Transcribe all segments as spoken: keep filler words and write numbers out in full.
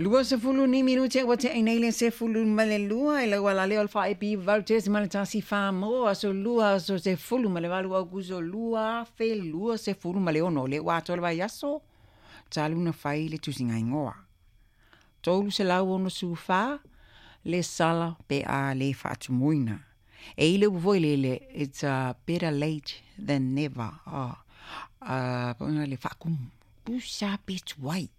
Lua sefulu ni minute ua teʻi nei le sefulu ma le lua i lau alaleo o le faaepi valu tesimale tasi Samoa aso lua aso sefulu ma le valu Aukuso lua afe lua sefulu ma le ono. O lea ua atoa le vaiaso talu na fai le tusigaigoa. Tolu selau ono fa le sala pe a le faatumuina. E i le upu foi lele, it's uh, better late than never. Oh. Uh, le faakumu. Tusa pe tuai.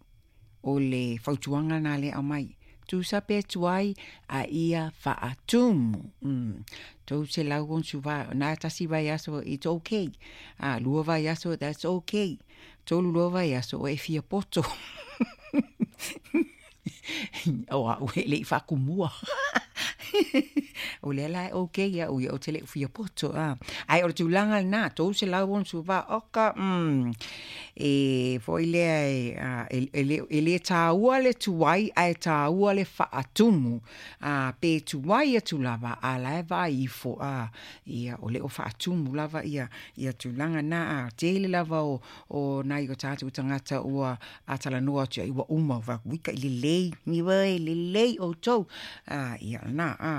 O le fautuaga na le aumai. Tusa pe tuai a ia faatumu. Mm. Tou se lau on suva, na tasi vaiaso, it's okay. Ah, lua vaiaso, that's okay. Tolu lua vaiaso, o e fia poto. O a ue le i faakumua. O lea la e okay ia o ia o te le fia poto. Ah. Ai o le tulaga lena, tou se lau on suva, oka, mm, e foi lea e, a, e, e, le, e le tāua le tuai ae tāua le faatumu. A, pe tuai atu lava, a la e vaai ifo, a, ia, o le o faatumu lava ia, ia tulaga na, a, tele lava o, o nai o tātou tagata ua atalanoa atu ai ua uma, va wika i lelei, ni wai, lelei o tou, a, ia na, a,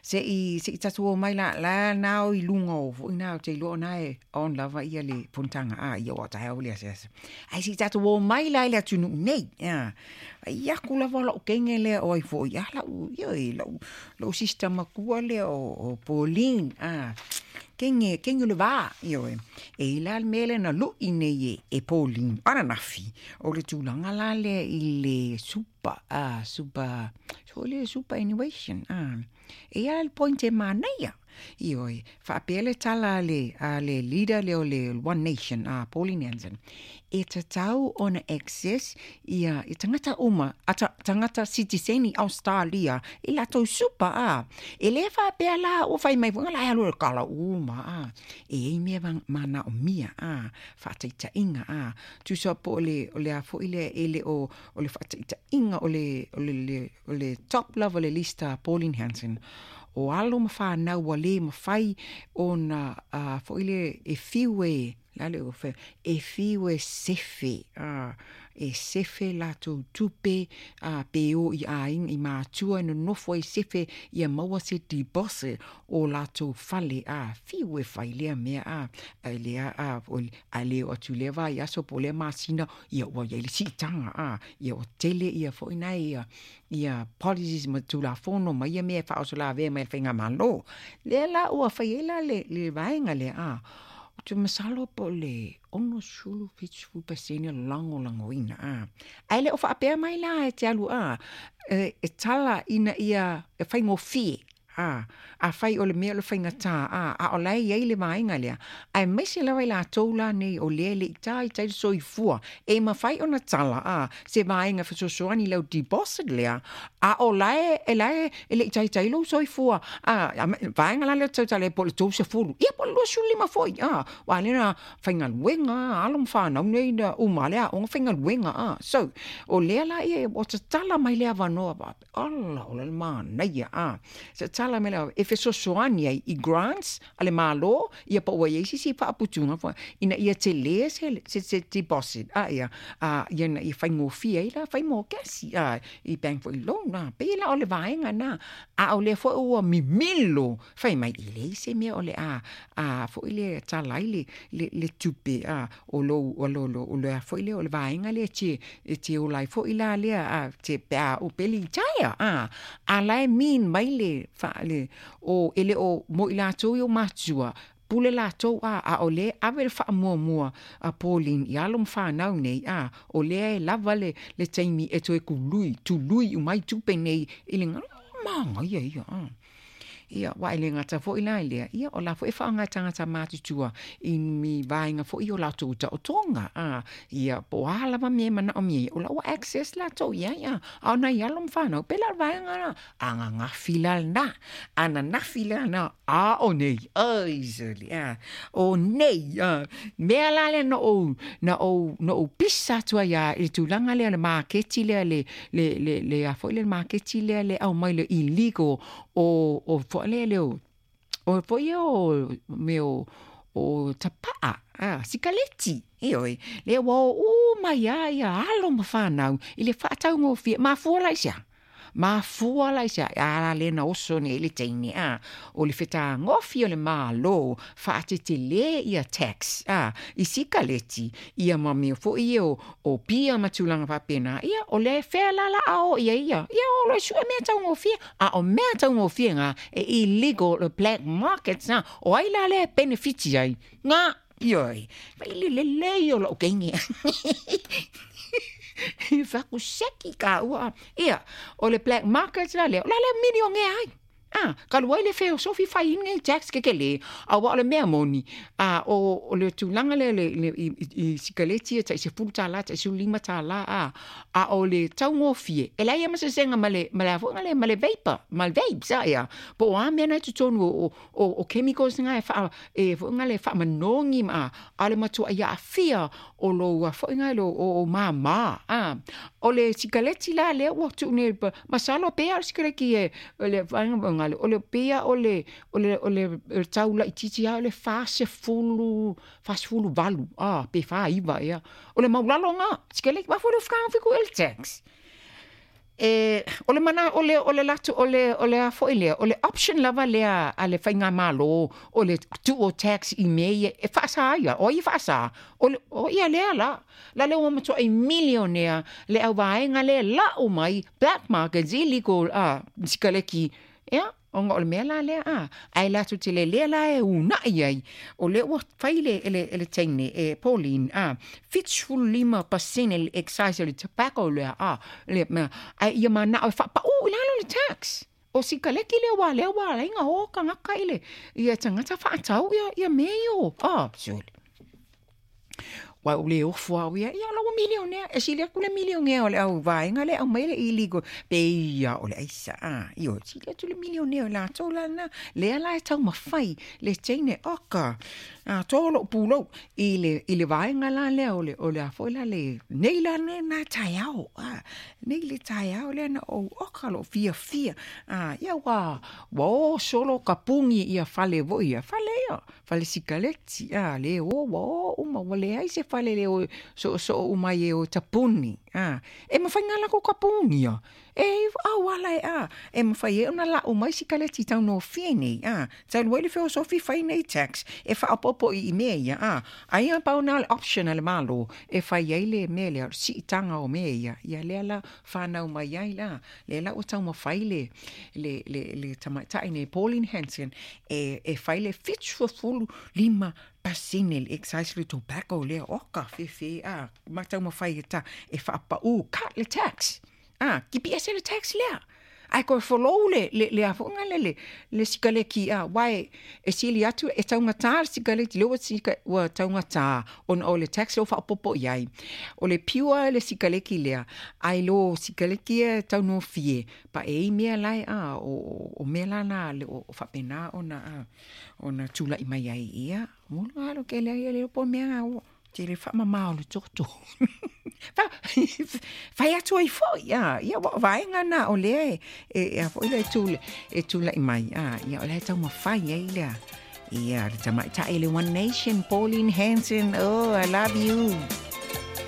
se i, se i tatu o mai la, la nao i lunga o, foi nao te iloa na e on lava ia le fonotaga, a, ia o taeao le asiasi. Ai se i tatou o mai la i le atunuu nei, a, ai aku lava lau kenge lea o ai foi, a, lau, ia e, lau, lau sister makua lea o, o Pauline, a, kenge, kenge le va, ia oe. E i la le mea lea na lui nei e, e Pauline, ananafi, o le tulaga la lea i le super, a, super, so le superannuation, a, e ia le point e manaia. Ioe, faapea le tala a le, a le leader lea o le One Nation, a Pauline Hanson, e tatau ona access ia, i tagata uma, a ta, tagata sitiseni Australia, i latou super, a. E le faapea la, o fai mai fuaga la e alu e kala uma, a. E ei mea manaomia, a, faataitaiga, a. Tusa po o le, o le a foi lea e le o, o le faataitaiga, o le, o le, le, o le top lava le lista a Pauline Hanson, o alo ma whanau ua le mafai ona uh, foi le e fiu e, la le o fe, e fiu e sefe, uh, e sefe latou tupe, uh, pe o i aiga i matua e nonofo ai sefe ia maua se deposit o latou fale, a, fiu e fai lea mea, a, a lea, a, o, a le o atu lea vaiaso po o lea masina, ia ua iai le siitaga, a, ia ua tele ia foi nai ia, ia policies ma tulafono ma ia mea e faaosolavea mai le faigamalo. Lea la ua fai ai la le, le vaega lea, a, ou te masalo po o le ono sulu fitu sefulu pasene lagolagoina, a. Ae le o faapea mai la e te alu, a, e, e tala ina ia e faigofie, a, a fai o le mea o le faigata, a, a o la e iai le vaega lea. Aemaise lava i latou la nei o lea e le i taitai le soifua, e mafai ona tala, a, se vaega fesoasoani lau deposit lea, a o la e, e la e, e le i taitai lou soifua, a, a, vaega la lea tautala e po o le tou sefulu, ia po o le luasefulu lima foi, a, ua lea na faigaluega, alo ma fanau nei na uma le aoga faigaluega, a. So, o lea la ia, ua tatala mai le avanoa, faapea, ala, o le manaia, a. Tatala mai le e fesoasoani ai i grants a le Malo, ia po ua iai sisi faaputuga foi, ina ia telē se, se, se deposit, a, ia, a, ia na ia faigofie ai la fai mokesi, a, i bank foi loan, a, pei la o le vaega na, a o lea foi ua mimilo, fai mai e leai se mea o le a, a foi le tala ai le, le, le tupe, a, o lou, o lo, lo, o le a foi lea o le vaega lea te, e te ola ai foi la lea, a, te pe a o pe litaia, a, a la e mean mai le, fa, le, o, e le o mo i latou i o matua, pule latou, a, a o lea ave le faamuamua a Pauline i alo ma fanau nei, a, o lea e lava le, le taimi e toe kului, tului umai tupe nei, i le ngalo, manaia ia, a. Ia, wa e le gata foi la i lea, ia, o la foi e faaaoga e tagata matutua i ni vaega foi o latou taotoga, a, ia, po o a lava mea e manaomia ai, o la ua access latou i ai, a, a o nai alo ma fanau, pe la o le vaega lena, ananafi la lena, ananafi la lena, a o nei, ai sole, a, o nei, a, mea la lea na ou, na ou, na ou pisa atu ai a i le tulaga lea o le maketi lea, le, le, le, le a foi le maketi lea le aumai le illegal o, o foi lea le o, o foi ia o mea o, o tapa'a a sikaleti ioe lea ua o uma ai ia alo ma fanau i le fa'ataugofie mafua la i sea mafua la i sea a le na oso nei le teine a o le fetagofi o le Mālō fa'atetelē ia tax a i sikaleti ia ma mea fo'i ia o, o pia ma tulaga faapena ia o le fea la la ao ia ia ia o lo su'e mea taugofie a o mea taugofie ga e illegal le black market na o ai la lea benefiti ai ga ioe fa'i lelei o lo'u keige fakuseki ka ua ia o le black market la lea o la lea milionea ai a talu ai le feosofi faiina i tax kekelē auā o le mea moni a o o le tulaga lea le, le i, i, i sikaleti e ta'i sefulu tālā ta'i sefulu lima tālā a a o le taugofie e leai ma sesega ma le ma le afoga le ma le vapor ma le vapes a ia po o a mea na i totonu o, o, o chemicals nga e faa e foʻiga le faamanogi ma a le matuaʻi aafia o lou afoʻiga lo o, o māmā a o le sikaleti la lea ua tuu nei masalo pea o le sikaleki e le vaega le o le pea o le o le o le tau laitiiti a o le fasefulu fasefulu valu a pe fāiva ea o le maulalo ga sikaleki mafua le fekagofi kuʻu le tax e o le mana o le o le latu o le o le a fo'i lea o le option lava lea a le faiga malo o le tuu o tax i mea ia e fa'asā ia o ai e fa'asā o le o ia lea la la le ua matua'i milionea le auvaega le la'u mai black markets illegal a sikaleki ia ona o le mea la lea a ae latou te lelea la e una'i ai o lea ua fai le le le teine e Pauline a fitusefulu lima pasene le excise o le tobacco lea a le mea ae ia mana'o e fa'apa'ū i lalo le tax o sikaleki lea ua lea ua alaiga o tagata i le ia tagata fa'atau ia ia mea io a sole ua o le ofo au ia ia la ua milionea e sili atu le milionea o le au vaega le aumai le illegal pe ia o le aisa a io sili atu le milionea o latou lana lea la e taumafai le teine oka a tolo pulou i le i le vaega la lea o le o le a foi la le nei la ne na taeao a nei le taeao lea na ou oka lo fiafia a ia ua ua o solo kapugi ia fale fo'i ia fale ia fale sikaleti a le o ua o uma ua leai se fale le o so'oso'o uma ai e o tapuni a e mafai ga lako kapuni ia e auala e a e mafai e ona la'u mai sikaleti taugofie nei a talu ai le feosofi fai nei tax e fa'aopo'opo i mea ia a aia pau na le option a le Mālō e fai ai le mea lea o le si'itaga o mea ia ia lea la fanau mai ai la lea la ua taumafai le le le le tamaita'i nei Pauline Hanson e e fai le fitusefulu lima pasene le excise le tobacco lea oka fefe a ma taumafai e ta e fa'apa'ū cut le tax a kipi ese le tax lea ae koe folou le le le afoga le le le sikaleki a uae e sili atu e taugatā le sikaleti le ua sika ua taugatā ona o le tax lea ua fa'aopoopo i ai o le pure le sikaleki lea ae lo sikaleki e taugofie pa e i mea lae a o o mea lana le o fa'apena ona a ona tula'i mai ai ia mulu alo ke lea ia le po mea o te le fa'amamā o le toto fai atu ai fo'i a ia ua vaega na o lea e e a fo'i le tule e tula'i mai a ia o le taumafai ai lea ia le tamaita'i le One Nation Pauline Hanson, oh, I love you.